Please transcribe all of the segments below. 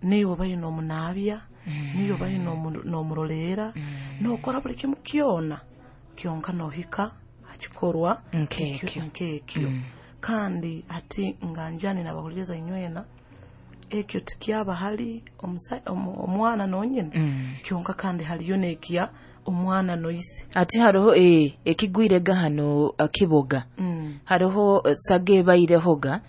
Niiwe obaire n'omunaabya, niiwe obaire n'omuroleera, n'okora buli kimu kyona, kyonka n'ohika ha kikorwa Nk'ekyo. Nk'ekyo. Kandi hati nga njani nabahuliriza inywena, ekyo tikyaba hali omwana nonyine, kyonka kandi haliyo n'ekya omwana noise. Ati haroho ekigwirega hano kiboga. Haroho saga ebairehoga,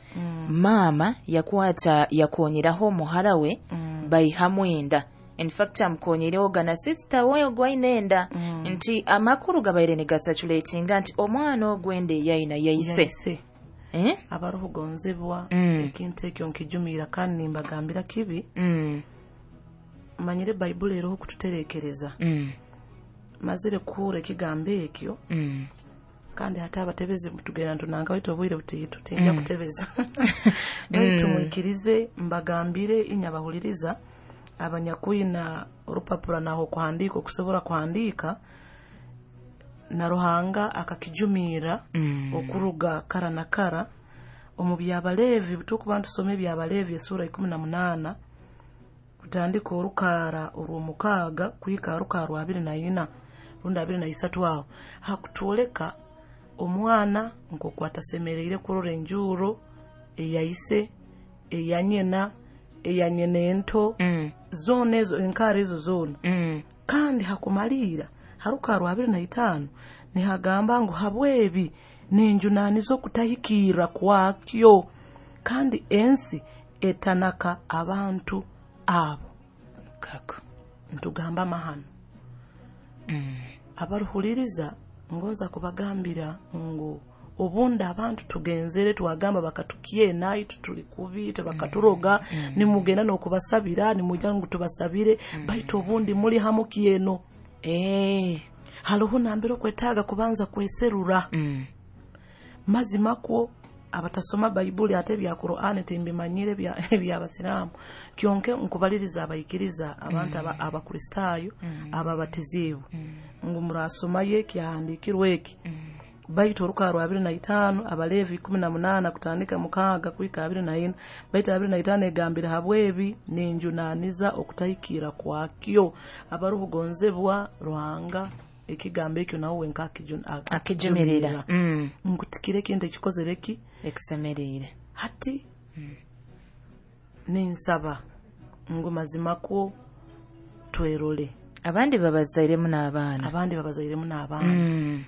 maama yakwata yakonyeraho omuhara we, baihamu enda. In fact amukonyirehoga na sister we ogwaine enda. Nti amakuru gabaire nigasatulatinga nti omwana ogwenda eyaina yaise. Abarukugonzebwa, ekintu ekyo nkijumira kandi nimbagambira kibi. Manyire Baibuli eroho kututerekereza. Mazire kuhura ekigambo ekyo. Kandi hati abatebezi tugenda ntunanga baitu obwire butiitu tinja kutebeza. Baitu mwikirize mbagambire inyabahuliriza abanyakwina orupapura naho kuhandiika okusobora kuhandiika, na Ruhanga akakijumira okuruga kara na kara omu byabaleevi. Tukuba ntusoma ebyabaleevi esura 18 kutandika orukaara orw'omukaaga kuhika orukaara rwa 24 rundi 23, aho hakutwoleka omwana nk'oku atasemereire kurora enjuuro eyaise, eyanyina, eyanyina ento, zoona ezo enkaara ezo zoona. Kandi hakumaliira haruka rwa 25 nihagamba ngu habwebi ninjunaaniza okutahikirra kwakyo, kandi ensi etanaka abantu abo. Kako ntugamba amahano. Abaruhuliriza ngonza kubagambira ngu obundi abantu tugenzere twagamba bakatukyena itu tuli kubi, bakaturoga, nimugenda n'okubasabira, nimujya ngu tubasabire, baitu obundi muli hamu kyeno. Haroho nambere okwetaaga kubanza kweserura. Mazima kwo abatasoma Baibuli ate ebya Qur'ani timbimanyire ebyabasiraamu, kyonke nkubaliriza abaikiriza abantu abakristaayo ababatiziibwe ngu murasomayo ekyahandiikirwe eki. Baitu orukaara rwa 25 Abaleevi 18 kutandika 6 kuhika 24, baitu 25 egambire habwebi ninjunaaniza okutahikirra kwakyo. Abarukugonzebwa Ruhanga ekigambo ekyo nawe wenka akijumirira. Nkutikire ekintu ekikozere ki ekisemerire. Hati ninsaba ngu mazima kwo twerole. Abandi babazairemu n'abaana. Abandi babazairemu n'abaana.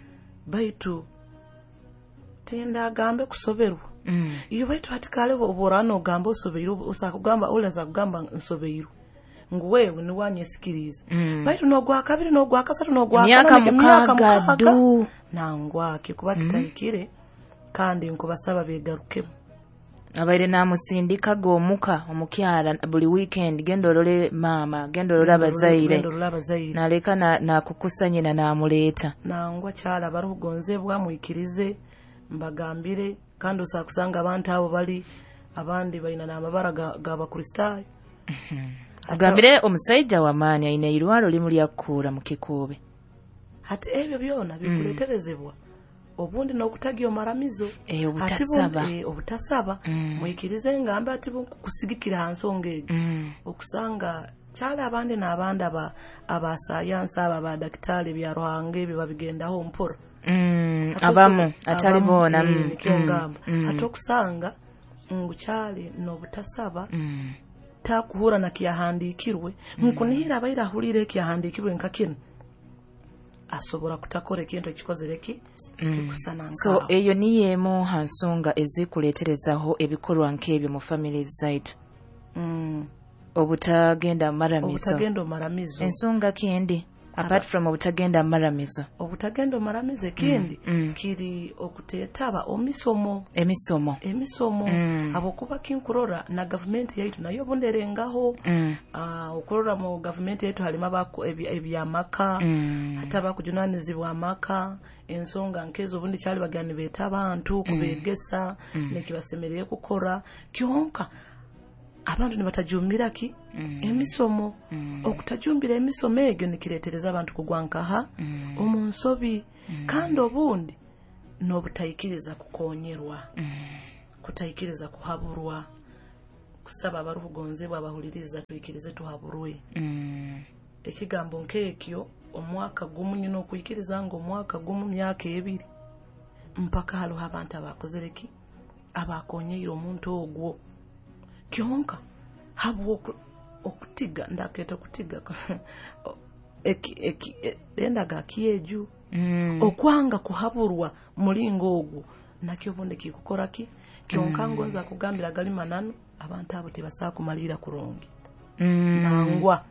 Baitu tindagambe kusoberwa. Iyo baitu hati kale oborana ogamba osobeirwe, osakugamba olaza kugamba nsobeirwe ngu wewe niwanyesikiriza. Baitu n'ogwa kabiri n'ogwa kasatu n'ogwa Emyaka mukaaga du. Nangwake kuba kitahikire, kandi nkubasaba begarukemu. Abaire namusindikaga omuka omukyara buli weekend, genda olole maama, genda olole abazaire, Genda olole abazaire. Naleka nakukusa nyina namuleeta. Nangwa kyala abarukugonzebwa mwikirize mbagambire, kandi osakusanga abantu abo bali abandi balina n'amabara g'abakristaayo. Agambire omusaija w'amaani aine irwaro limu lyakukuura mu kikuube. Hati ebyo byona bikuleeterezebwa obundi n'okutagya omaramizo. Obutasaba. Obutasaba. Mwikirize ngambe ati kusigikira ha nsonga egyo. Okusanga kyali abandi n'abandi abasayansi aba abadakitari bya Ruhanga ebyo babigendaho mpora. Abamu atali boona. Nikyo ngamba. Hati okusanga ngu kyali n'obutasaba, takuhura na kyahandiikirwe, nkunihira abaire ahulire ekyahandiikirwe nka kinu, asobora kutakora ekintu ekikozere ki ekusana. So eyo niyo emu ha nsonga ezikuleeterezaho ebikorwa nk'ebyo mu family zaitu. Obutagenda maramizo. Obutagenda maramizo. Ensonga kindi apart from obutagenda maramizo. Obutagenda maramizo ekindi kiri okutetaba omisomo. Emisomo. Emisomo. Abokuba kinkurora na gavumenti yaitu nayo obunderengaho. Okurora mu gavumenti yaitu halimu ebyamaka, hati abakujunanizibwa amaka, ensonga nkezo obundi kyali bagani beeta abantu kubegesa nekibasemereye kukora, kyonka abantu nibatajumbira ki emisomo. Okutajumbira emisomo egyo nikireetereza abantu kugwa nkaha omu nsobi. Kandi obundi n'obutaikiriza kukonyerwa, kutaikiriza kuhaburwa. kusaba abarukugonzebwa abahuliriza twikirize tuhaburwe. Ekigambo nk'ekyo omwaka gumu nyina okwikiriza ngu omwaka gumu myaka 2 mpaka hariho abantu abakozere ki abakonyeire omuntu ogwo kyonka habwo okutiga ndaketa okutiga endaga kyeju okwanga kuhaburwa mulingo ogwo nakyo obundi kikukora ki kyonka ngonza kugambira gali mananu abantu abo tibasa kumalira kurungi. Nangwa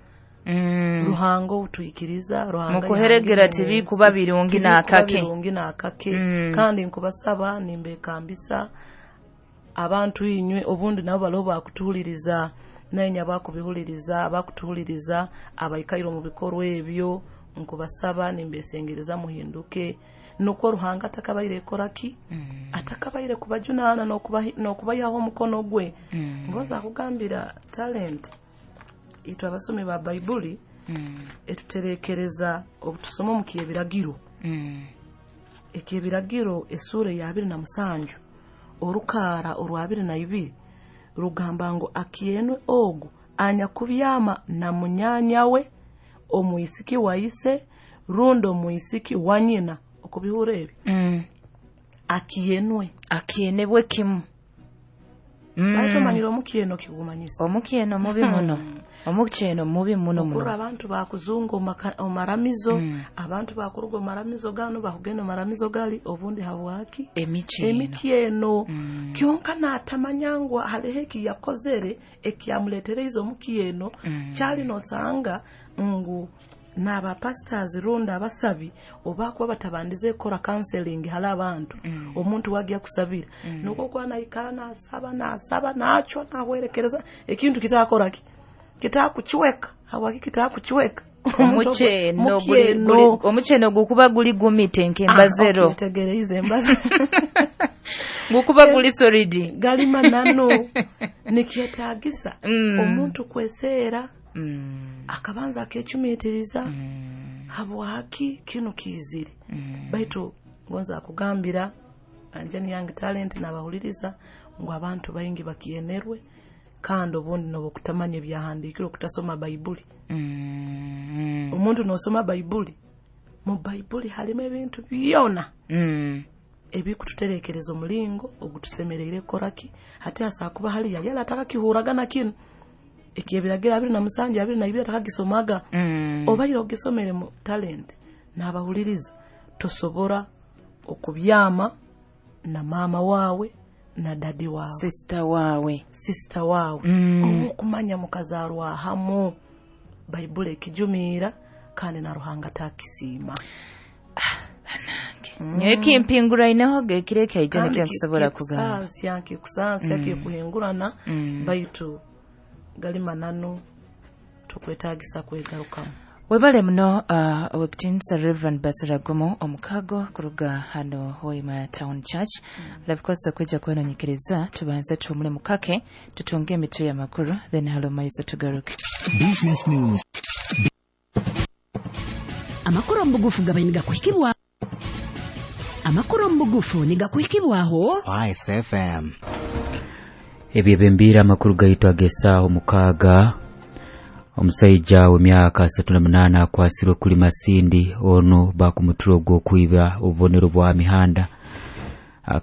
Ruhanga otuikiriza Ruhanga mukuheregera tibikuba birungi nakake birungi nakake. Kandi nkubasaba nimbekambisa abantu inywe obundi nabo balo bakutuhuliriza nenya bakubihuliriza abakutuhuliriza abaikairo mu bikorwa ebyo nkubasaba nimbesengereza muhinduke nuko Ruhanga atakabaire koraki atakabaire kubajunana nokubayaho omukono gwe. Ngoza kugambira talent itwe abasomi ba Baibuli etuterekereza obutusoma mu kyebiragiro. Ekyebiragiro esura ya 27 orukara orwa 22 rugamba ngo akienwe ogu anyakubyama na munyanya we omwisiki wa ise rundo omwisiki wa nyina. Okubihura ebi akienwe akienebwe kimu. Bacho manyiro omukieno kigumanyisa omukieno mubi muno omukieno mubi muno muno. Okura abantu bakuzungu omaramizo abantu bakuruga omaramizo gano bakugenda omaramizo gali obundi habwaki emikieno. Kyonka natamanyangwa halehe yakozere ekyamuletereize omukieno kyali nosanga ngu naba pastors runda abasabi obakuba batabandize kora counseling hala abantu omuntu wagiya kusabira nuko kwa naikara nasaba nasaba nacho nahwerekereza ekintu kitakora ki kitakuchweka hawaki kitakuchweka omucheno guli omucheno gukuba guli gumite nkembazero okay, tegereize embaze gukuba guli solid galima nano nikyetagisa omuntu kweseera akabanza akechumitiriza habwaki kino kizire. Baitu ngonza kugambira anjani yange talent nabahuliriza ngo abantu baingi bakienerwe kandi obundi nobo kutamanya ebyahandikirwe kutasoma Baibuli. Omuntu nosoma Baibuli mu Baibuli halimu ebintu byona ebikututerekereza omulingo ogutusemereire koraki hati asakuba hali yala ataka kihuragana kino ekyebiragira 27 22 atakagisomaga obaire ogisomere mu talent nabahuliriza tosobora okubyama na mama wawe na dadi wawe sister wawe okumanya mukazarwa hamu. Baibuli ekijumira kandi na Ruhanga takisiima. Nyowe kimpingura ineho gekireke aije nikyo kugamba kusansi kikuhingurana baitu galima nano tukwetagisa kwegarukamu. Webale muno wekitinsa Reverend Basiragumu omukago kuruga hano Hoima Town Church. Labikosa kwijja kwenonyekeriza tubanze tumule mukake tutunge emitwe y'amakuru then halo maiso tugaruke. Business News. Amakuru mbugufu gabainiga kuhikibwa. Amakuru mbugufu nigakuhikibwaho Spice FM. Ebyebembira amakuru gaitu agesaho mukaga. Omusajja w'emyaka 38 akwasirwe kuli Masindi ono bakumuturo gw'okwiba obubonero bwa mihanda.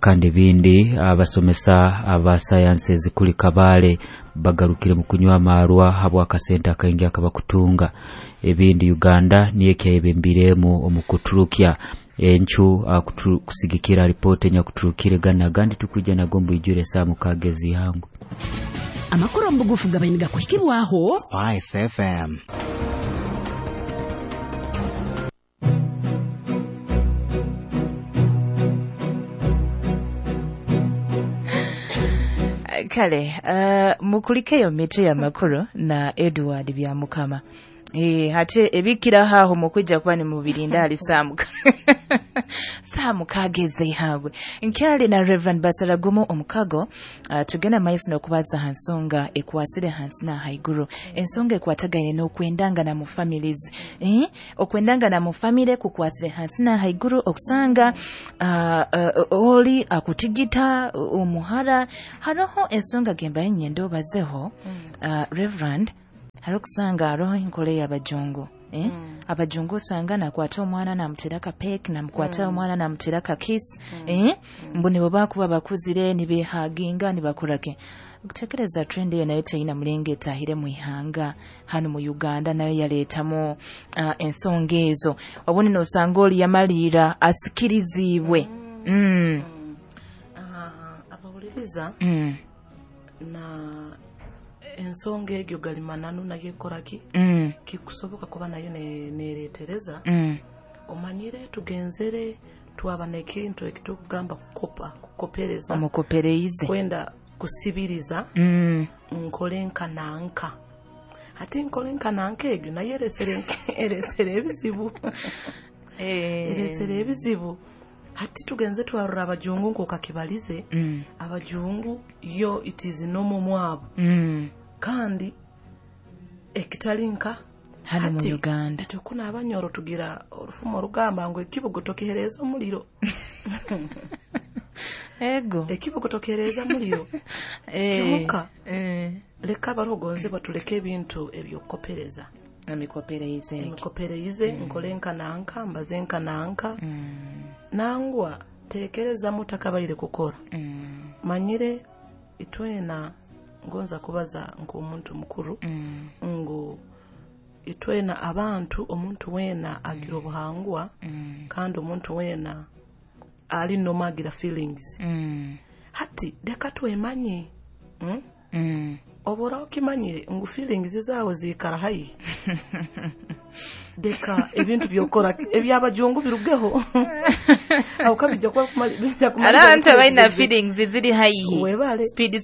Kandi bindi abasomesa aba sciences kuli Kabale bagarukire mu kunywa amarwa habwa akasente akaingi akabakutunga. Ebindi Uganda niye kyayebembiremu omukuturukya enchu kusigikira ripoti nyakuturukire gana gandi tukujja nagombo ijure saa mukagezi hangu. Amakuru mbugufu gabainiga kuhikibwaho Spice FM. Kale mukulikeyo mitwe ya makuru na Edward Byamukama. Ate ebikiraho aho mukwija kuba nimubirinda ali saamuka saamuka ez'eihangwe. Nkyali na Reverend Basaragumu omukago, tugenda maiso n'okubaza ha nsonga ekwasire hansi na haiguru, ensonga ekwatagaine n'okwendangana mu families. Okwendangana mu family kukwasire hansi na haiguru, okusanga oli akutigita omuhara. Haroho ensonga gemba nyenda obazeho, Reverend, hariho kusanga haroho enkora y'abajungu. Abajungu osanga nakwata omwana namutera ka peck, namukwata omwana namutera ka kiss, mbu nibo bakuba bakuzire nibehaginga nibakorake. Okutekereza trend eyo nayo teyina mulinga etahire mu ihanga hano mu Uganda, nayo yaleetamu ensonga ezo. Obundi nosanga oli yamalira asikirizibwe. Abawuliriza na ensonga egyo galimananu nayo ekoraki, kikusoboka kuba nayo neretereza. Omanyire tugenzere twaba nekintu ekitukugamba kukopa, kukopereza, omukopereize, kwenda kusibiriza, nkole nka nanka, ate nkole nka nanka egyo nayo eresere ebizibu. Eresere ebizibu. Hati tugenze twarora abajungu nk'okakibalize, abajungu yo it is normal mwabo, kandi ekitali nka hano mu Uganda. Tukuna abanyoro tugira orufumo orugamba ngu ekibugo tokihereza omuliro. Ego ekibugo tokihereza omuliro. Kimuka leka abarogonze batuleke ebintu ebyokukopereza, emikopereize, nkole nka nanka, mbaze nka nanka. Nangwa tekereza mutakabaire kukora. Manyire itwena ngonza kubaza nk'omuntu mukuru, ngu itwena abantu, omuntu wena agira obuhangwa, kandi omuntu wena ali noma agira feelings. Hati leka twemanye, obora okimanyire ngu feelings zawe zikara haihi, deka ebintu byokora ebyabajungu birugeho. Aho kabijja kuba bijja kumara abantu abalina feelings ziri haihi, webale speed.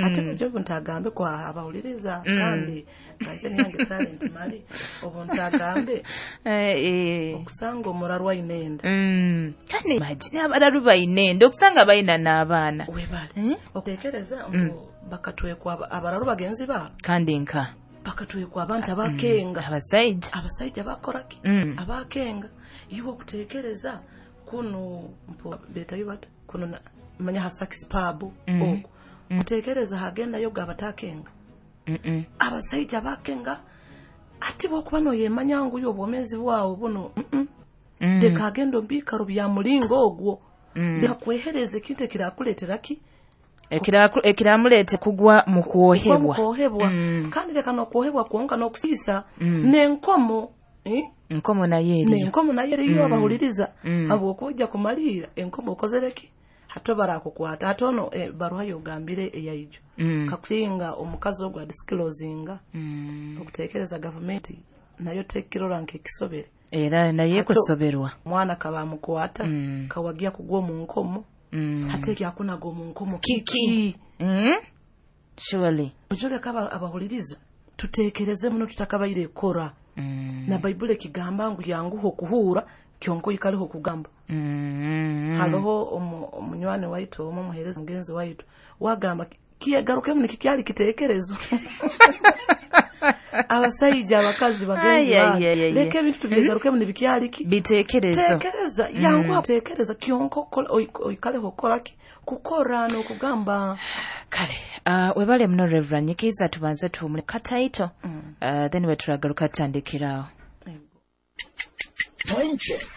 Ate mujobu ntagambe kwa abawuliriza, kandi kanje niyange talent mali obu ntagambe okusanga omurarwa inenda. Kandi imagine abararu bainenda okusanga balina n'abaana. Webale okutekereza ngu bakatwekwa abararu bagenzi ba kandi nka bakatwekwa abantu abakenga, abasajja bakoraki, abakenga. Iwe okutekereza kuno mpo betayo bata kuno manya ha sax pub okwo kutekereza hagenda yoga abatakenga. Abasajja bakenga ati bokuba noyemanya ngu yo obwomezi bwawo buno deka agenda ombikaro bya mulingo ogwo, deka kwehereza ekintu ekirakuleetera ki ekiramulete kugwa mu kuohebwa. Kandi leka n'okuohebwa kwonka n'okusiisa n'enkomo. Enkomo nayo eriyo, n'enkomo nayo eriyo abahuliriza, habw'okujja kumalira enkomo okozereki hato barakukwata hatono baruha yogambire eyaijo kakusinga omukazi ogwo adisclosinga. Okutekereza gavumenti nayo tekirora nk'ekisobere, era naye kusoberwa omwana kabamukwata kawagia kugwa mu nkomo. Hate kyakunaga omu nkomo kiki? Surely ojole kaba abahuliriza tutekereze muno tutakabaire ekora. Na Baibuli ekigamba ngu yanguho okuhura kyonko ikaliho kugamba. Haloho omunywani waitu omu muhereza mugenzi waitu wagamba kiyegarukemu nikikyali kitekerezo. Abasajja abakazi bagenzi bange, leka ebintu tubyegarukemu nibikyali ki bitekerezo. Tekereza yanguha tekereza kyonko oikaleho okoraki kukora n'okugamba. Kale webale muno Reverend Nyikiza, tubanze tuwumule kataito, then weturagaruka tutandikirawo. Time check.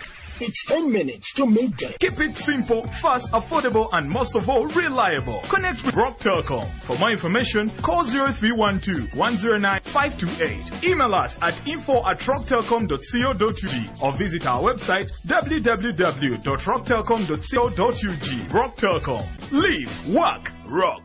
It's 10 minutes to midday. Keep it simple, fast, affordable, and most of all, reliable. Connect with Rock Telcom. For more information, call 0312 109 528. Email us at info@rocktelcom.co.ug or visit our website www.rocktelcom.co.ug. Rock Telcom. Live, work, rock.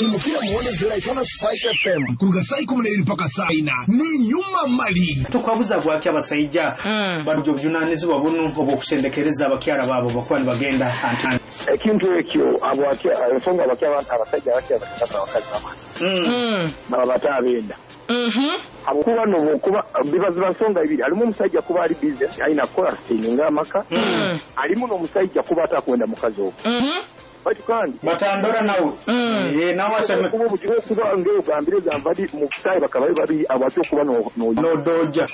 Imukira muone zera Spice FM kuruga saa 12 mpaka saa 4 ni nyuma mali. Tukwabuza bwaki abasaija barujja obuvunanyizibwa buno obw'okusendekereza abakyala baabo bakuba nibagenda anti ekintu ekyo ensonga abasajja abakya abakazi baba batabenda habwokuba nobwokuba biba nsonga ibiri, alimu omusajja kuba ali busy alina kukola sininga amaka, alimu n'omusajja kuba atakwenda mukazi ogwo. Baitu kandi batandora nawe nawe aseme kuba obuzibu okuba ng'ogambire gamba ndi mu butayi bakabayo babiri abakyo okuba nodoja.